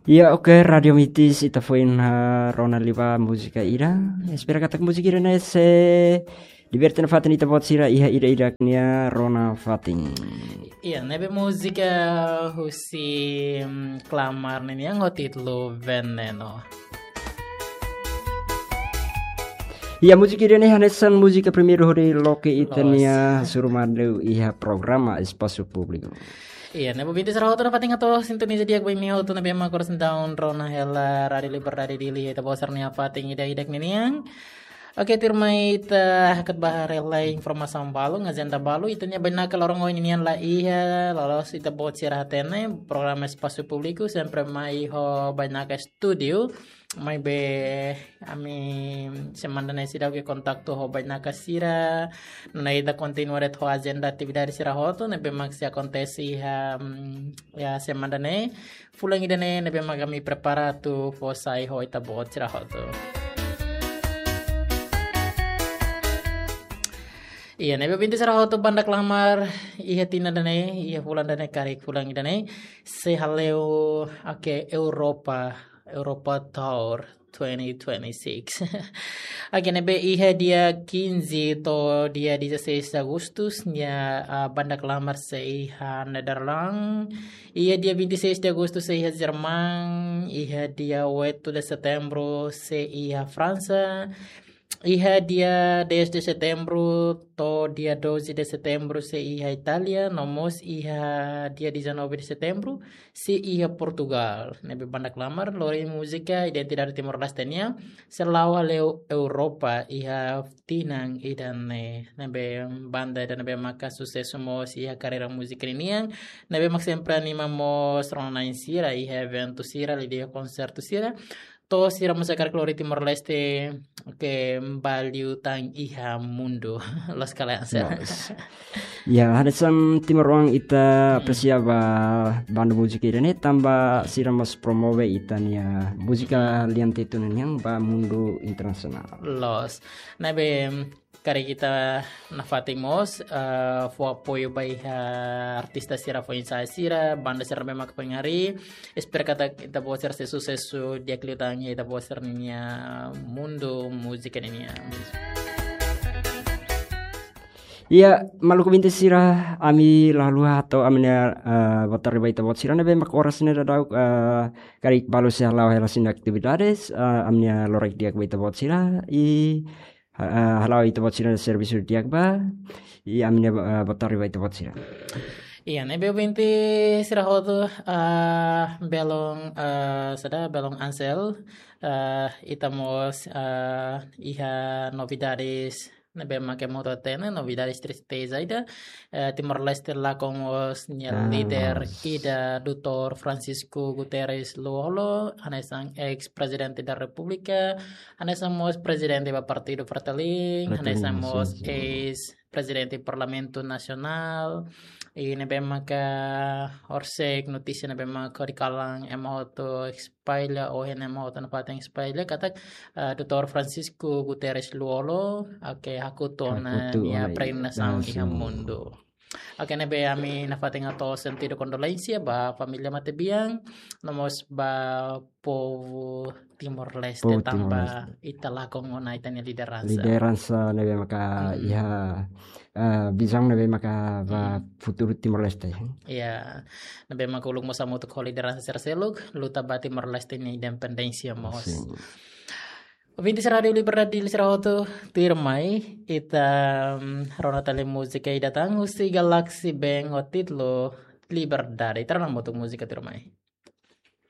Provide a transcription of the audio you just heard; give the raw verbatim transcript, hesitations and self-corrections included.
Iya, oke, Radio Mitis, ita foin, ah, rona liu ba múzika ida. Espera katak múzika ida-ne'e sei liberte nafatin ita-boot sira iha ida-idak nia rona fatin. Iya, ne'ebé múzika husi, mm, Klamar ninian ho títulu Veneno. Iya, múzika ida-ne'e hanesan múzika primeiru hodi loke ita-nia Loos. hasoru malu iha programa Espasu Públiku. Iya, ne'ebé ouvinte sira hotu nafatin hato'o sintoniza di'ak ba imi hotu ne'ebé mak oras ne'e daudaun rona hela Rádio Liberdade Dili, ita-boot sira-nia fatin ida-idak ninian. Oke, tuirmai ita hakat ba haree lai informasaun balu, ajenda balu, ita-nia bainaka loron ohin ninian la iha, loloos ita-boot sira hatene, programa Espasu Públiku, sempre mai ho bainaka estúdiu, maibé ami semana ne'e seidauk iha kontaktu ho bainaka sira, nune'e ita kontinua de'it ho ajenda atividade sira hotu, ne'ebé mak sei akontese iha, mm, iha semana ne'e, fulan ida-ne'e ne'ebé mak ami prepara atu fó sai ho ita-boot sira hotu. Iya, ne'ebé ouvinte sira hotu, Banda Klamar iha tinan ida-ne'e, iha fulan ida-ne'e, karik fulan ida-ne'e, sei hale'u, oke, Europa, Europa Tour twenty twenty-six. Oke, ne'ebé iha dia quinze to'o dia dezasseis de Agostu, nia, ah, Banda Klamar sei iha Nederland. Iha dia vinte e seis de Agostu sei iha Jerman, iha dia oito de Setembru sei iha Fransa, iha dia dez de Setembru to'o dia doze de Setembru sei iha Itália, no mós iha dia dezanove de Setembru sei iha Portugal. Ne'ebé Banda Klamar lori múzika identidade Timor-Leste nian, sei la'o hale'u Europa iha tinan ida-ne'e. Ne'ebé banda ida ne'ebé maka susesu mós iha karreira múzika ninian, ne'ebé mak sempre anima mós rona-na'in sira iha eventu sira, liuliu konsertu sira. To'o sira mós hakarak lori Timor-Leste, oke, bá liután iha mundu. Loos ka lae, Ansel? Loos. Ya, hanesan timoroan ita Hmm. apresia ba banda múzika ida-ne'e, tanba sira mós promove ita-nia múzika Hmm. lian Tetun nian ba mundu internasionál. Loos. Ne'ebé, karik ita nafatin mós, eh, fó apoiu ba iha artista sira foin-sa'e sira, banda sira ne'ebé mak foin harii. Espera katak ita-boot sira sei susesu di'ak liután iha ita-boot sira-nia mundu múzika ninian. Iya, maluk ouvinte sira, ami la haluha hato'o ami-nia, eh, boa tarde ba ita-boot sira ne'ebé mak oras ne'e daudaun, eh, karik balu sei hala'o hela sira-nia atividades, eh, ami-nia loraik di'ak ba ita-boot sira, i, eh, hala'o ita-boot sira servisu di'ak ba, i ami-nia, eh, boa tarde ba ita-boot sira. Iya, ne'ebé ouvinte sira hotu, eh, belun, eh, saida, belun Ansel, eh, ita mós, eh, iha novidades ne'ebé mak ema hotu hatene, novidades triste saida, eh, Timor-Leste lakon mós nia Ah, líder loos. ida, doutór Francisco Guterres Lú-Olo, hanesan eis Prezidente da Repúblika, hanesan mós prezidente ba Partidu Fretilin, Fretilin, hanesan mós sin, sin. eis Prezidente Parlamentu Nasionál, i ne'ebé maka horisehik notísia ne'ebé maka hodi kalan ema hotu espalla, ohin ema hotu nafatin espalla katak, eh, doutór Francisco Guterres Lú-Olo, oke, hakutu ona Hakutu nia ona peregrinasaun iha langsung. mundu. Oke, ne'ebé ami nafatin hato'o sentidu kondolénsia ba família matebian, no mós ba povu Timor-Leste Povu tanba Timor-Leste. ita lakon ona ita-nia lideransa. Lideransa ne'ebé maka Hmm. iha, eh, vizaun ne'ebé maka ba Hmm. futuru Timor-Leste. Iya, ne'ebé maka uluk mós hamutuk ho lideransa sira seluk, luta ba Timor-Leste nia independénsia mós. Sin. Ouvinte Rádio Liberdade Dili sira hotu, tuirmai, ita, mm, rona tali múzika ida tan husi Galaxy Band ho títulu Liberdade. Ita rona hamutuk múzika tuirmai.